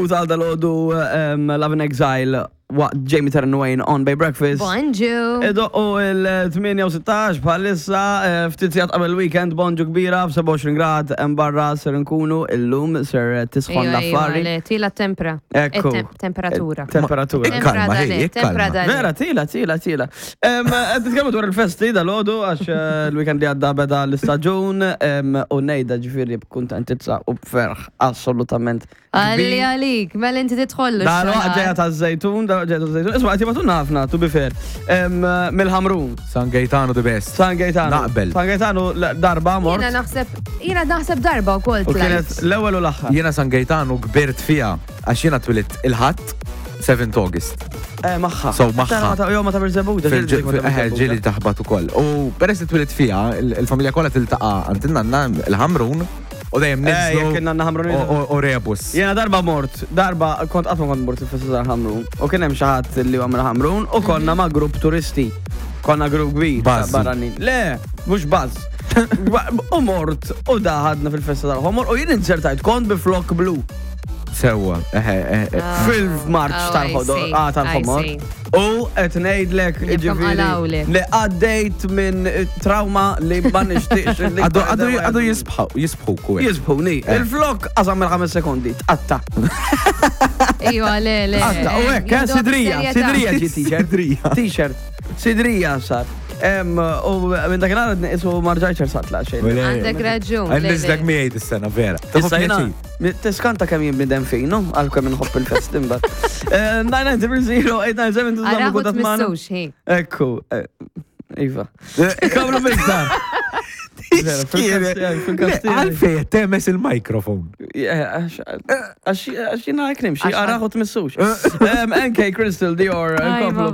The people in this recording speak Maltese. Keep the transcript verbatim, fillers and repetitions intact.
U tal dal-għodu um, Love in Exile waqt Jamie Terran Wayne on Bay Breakfast. Bonġu. Idoqqu il-tmienja u sittax bħalissa, eh, ftit sigħat qabel weekend, bonġu kbira, b'sebgħa u għoxrin grad hemm barra ser nkunu illum, ser tisħon Ejwa, ejwa, l-affari. Le, tila tempra. Ekku. Eh, tem- Temperatura. Temperatura. Tempra Ikkalma, dale, ej, tempra ikkalma. dale. Vera, tila, tila, tila. Em, Qed nitkellmu dwar il-festi dal-għodu, għax eh, il-weekend li għadda beda l-istaġun em, u ngħidha ġifieri b'kuntentizza u b'ferħ assolutament Għalli kbir. għalik, mela inti tidħollu. Dal-waqt ġeja ta' żejtun, dal-waqt ġeja ta' żejtun. Isma' qed ħafna, to be fair. Em, Mill-Ħamrun. San Gaetano the best. San Gaetano. Naqbel. San Gaetano l- darba mort. Jiena naħseb, jiena naħseb darba u kol U kienet l-ewwel u l-aħħar. Jiena San Gaetano kbirt fija għax jiena twilidt il-Ħadd seventh August. Eh, maħħa. So, maħħa. Jo, ma ta' Birżebbuġa. Fil- Ġieli taħbat ukoll. U peress li twilidt fija, il- il-familja kollha tiltaqa' għand in-nanna il-Ħamrun u dejjem Eh, ninżlu jekk in-nanna Ħamrun. u- u- u rebus. Jena darba mort, darba kont qatt ma kont mort il-festa tal-Ħamrun. U kien hemm xi ħadd li huwa mill-Ħamrun u konna ma' grupp turisti. Konna grupp kbir ta' Buzz. barranin. Le, mhux buzz. U mort u daħadna fil-festa tal-ħomor u jien inzertajt kont bi flok blu Sewwa. Eħe, eħe. Ah. fil-marċ Oh, tal-ħodor, I see, ah, tal-ħomor. I see. U qed ngħidlek Jibkom ġifieri qalawlek. li għaddejt minn trauma li ma nixtieqx li Għadu għadu għadu jisbħu, jisbħu ku. Jisbħuni. Eh. Il-flok qasam mill ħames sekondi, tqatta. Ejwa, le, le. Tqatta. U hekk, eh, Jieħdu sidrija, b'serjetà. sidrija ġi t-shirt. Sidrija. T-shirt. Sidrija sar. Em, U minn dakinhar isu ma rġajtx satla xejn. Għandek raġun. le, Għandek le. miegħi dis-sena, vera. Issa jena, tiskanta kemm jien bnidem fino, għal kemm inħobb il-fest imbagħad. nine nine zero zero eight nine seven Araħu tmissux, hi. Ekku, eh, iva. Kamlu bil-dar. Vera, fil-kas- fil-kas- Għalfej temes il-mikrofon. Għax jina għek nimxi, Għax- araħu tmissux. Em, N K Crystal, Dior, Aj, nkomplu.